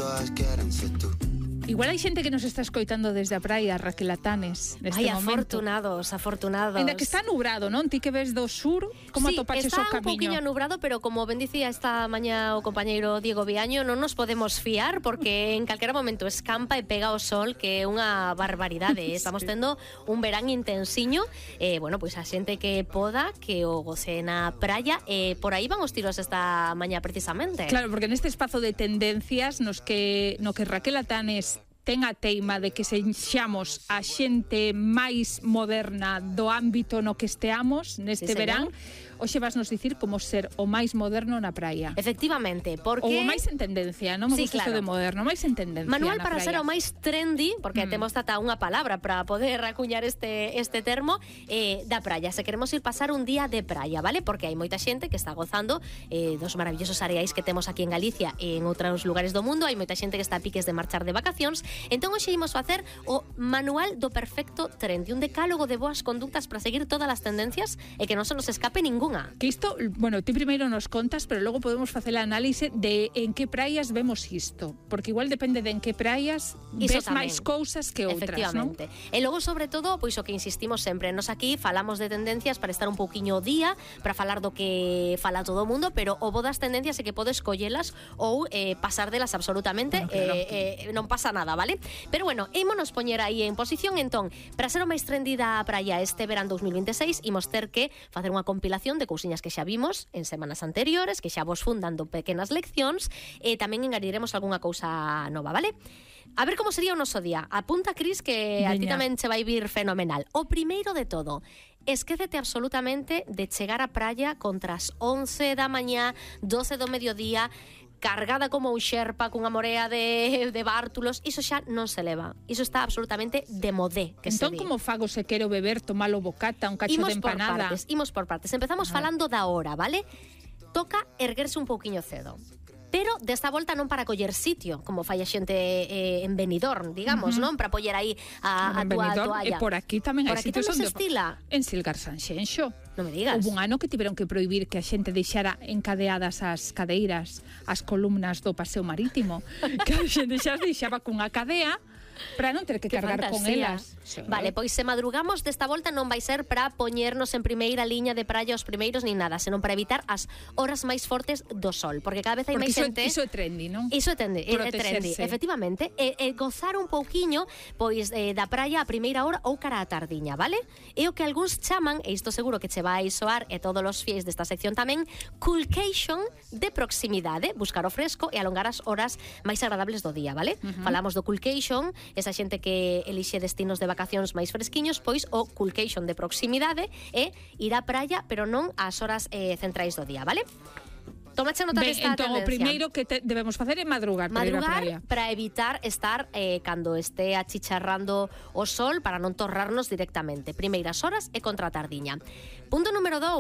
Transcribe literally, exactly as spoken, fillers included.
todas quieren ser tú. Igual hai xente que nos está escoitando desde a praia, Raquel Atanes, neste Ai, momento. afortunados, afortunados. Ainda que está nubrado, non? Ti que ves do sur, como sí, atopaches o está un camiño? poquinho nubrado, pero como ben dicía esta mañá o compañeiro Diego Viaño, non nos podemos fiar porque en calquera momento escampa e pega o sol, que é unha barbaridade. Estamos tendo un verán intensiño. Eh, bueno, pois pues a xente que poda, que o goce na praia, e eh, por aí van os tiros esta mañá precisamente. Claro, porque neste espazo de tendencias nos que no que Raquel Atanes ten a teima de que sexamos a xente máis moderna do ámbito no que esteamos neste Sí, verán, hoxe vas nos dicir como ser o máis moderno na praia. Efectivamente, porque... Ou o máis en tendencia, non me Sí, gusta claro. isto de moderno, máis en tendencia Manual na para praia. ser o máis trendy, porque Mm. temos tata unha palabra para poder acuñar este este termo, eh, da praia. Se queremos ir pasar un día de praia, vale? Porque hai moita xente que está gozando eh, dos maravillosos areais que temos aquí en Galicia e en outros lugares do mundo. Hai moita xente que está a piques de marchar de vacacións. Entón hoxe imos facer o manual do perfecto trendy, un decálogo de boas conductas para seguir todas as tendencias e que non se nos escape ningunha. Que isto, bueno, ti primeiro nos contas, pero logo podemos facer a análise de en que praias vemos isto, porque igual depende de en que praias Iso ves tamén. máis cousas que outras, non? Efectivamente. E logo, sobre todo, pois o que insistimos sempre, nos aquí falamos de tendencias para estar un pouquiño ao día, para falar do que fala todo o mundo, pero o bo das tendencias é que podes collelas ou eh, pasar delas absolutamente, Bueno, claro. eh, eh, non pasa nada, vale? Pero bueno, ímonos poñer aí en posición, entón, para ser o máis trendy da praia este verán dos mil veintiséis, imos ter que facer unha compilación de cousiñas que xa vimos en semanas anteriores, que xa vos fun dando pequenas leccións, e tamén engadiremos algunha cousa nova, vale? A ver como sería o noso día. Apunta, Cris, que a ti Veña. tamén che vai vir fenomenal. O primeiro de todo, esquécete absolutamente de chegar á praia contra as once da mañá, doce do mediodía, cargada como un xerpa cunha morea de, de bártulos. Iso xa non se leva. Iso está absolutamente de modé, que Entón, se di. como fago se quero beber, tomalo bocata, un cacho Imos de por empanada? partes, imos por partes. Empezamos Ajá. falando da hora, vale? Toca erguerse un pouquiño cedo. Pero desta volta non para coller sitio, como fai a xente eh, en Benidorm, digamos, Uh-huh. non? Para poñer aí a, a En túa Benidorm, toalla. e por aquí tamén Por hai aquí sitios tamén se onde... estila. En Silgar Sanxenxo. Non me digas. Houve un ano que tiveron que prohibir que a xente deixara encadeadas as cadeiras, as columnas do paseo marítimo. Que a xente xa as deixaba cunha cadea para non ter que Que cargar con fantasía. elas. Sí. Vale, pois se madrugamos desta volta non vai ser para poñernos en primeira liña de praia os primeiros nin nada, senón para evitar as horas máis fortes do sol, porque cada vez hai Porque máis iso, xente... iso é trendy, non? Iso é trendy, é, é trendy, Protegerse. efectivamente, e, e gozar un pouquiño pois eh, da praia a primeira hora ou cara á tardiña, vale? É o que algúns chaman, e isto seguro que che vai soar e todos os fiéis desta sección tamén, coolcation de proximidade, buscar o fresco e alongar as horas máis agradables do día, vale? Uh-huh. Falamos do coolcation, esa xente que elixe destinos de vacacións máis fresquiños, pois o coolcation de proximidade é ir á praia, pero non ás horas eh, centrais do día, vale? Tomache nota Ben, desta entón, o tendencia. primeiro que te, debemos facer é madrugar, para ir á Madrugar praia. para evitar estar eh, cando este achicharrando o sol, para non torrarnos directamente. Primeiras horas e contra a tardiña. Punto número dous.